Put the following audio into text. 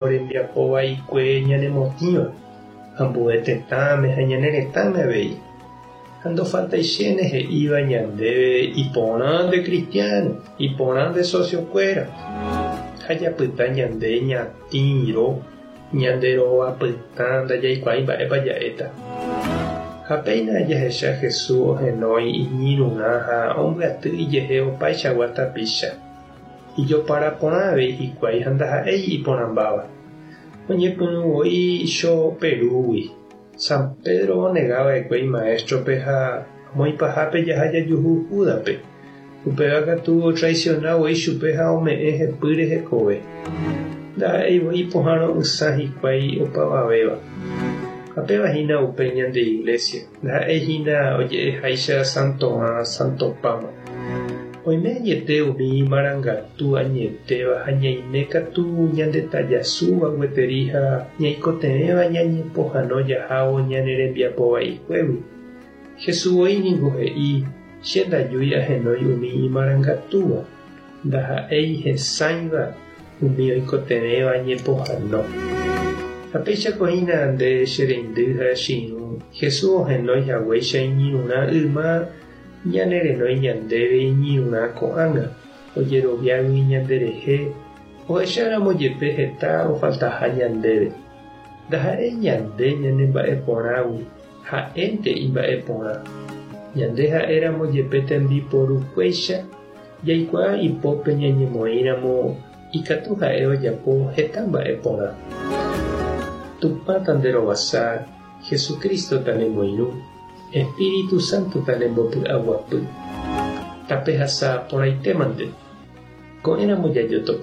Rembiapo vaikue ñanemotĩva, ambue tetãme ha ñane retãme avei. Ha ndofaltaichéne he'íva ñandéve iporã nde cristiano, iporã nde socio-kuéra. Ha japyta ñande ñatĩro, ñande rova pytã ndajaikuaái mba'épa ja'éta. Ha péina jahecha Jesús ohenói iñirũrã ha ombyaty ijehe opaichagua tapicha. Ijopara porã avei hikuái ha ndaha'éi iporãmbáva. Oñepyrũ voi cho Perúgui. San Pedro onega va'ekue imaéstrope ha amo ipahápe jaha jajuhu Júdaspe. Upéva katu otraisiona voi chupe ha ome'ẽ hepýre hekove. Ndaha'éi voi ipohãro'ysã hikuái opavavéva. Ha péva hína upe ñande Iglesia. Ndaha'éi hína oje'eháicha santorã santopáma. Oime añete umi marangatu añetéva ha ñaime katu ñandetajasúva gueteri ha ñaikotevẽva ñañepohãno jahávo ñane rembiapo vaikuégui. Jesús voi ningo he'i, Che ndajúi ahenói umi imarangatúva, ndaha'éi hesãiva umi oikotevẽva ñepohãno. Ha péichako hína nde che reindy ha che irũ, Jesús ohenói haguéicha iñirũrã yma ñane renói ñandéve iñirũrã ko'ág̃a, ojeroviágui ñanderehe, ohecháramo jepe heta ofaltaha ñandéve. Ndaha'éi ñande ñanemba'eporãgui, ha'énte imba'eporã. Ñande ha'éramo jepe tembiporukuéicha, Jaikuaa ipópe ñañemoĩramo ikatu ha'e ojapo heta mba'e porã. Tupã tanderovasa, Jesucristo tanemoirũ, Espíritu Santo tanembopy'aguapy. Tapehasa porãitémante. Ko'ẽramo jajotopa.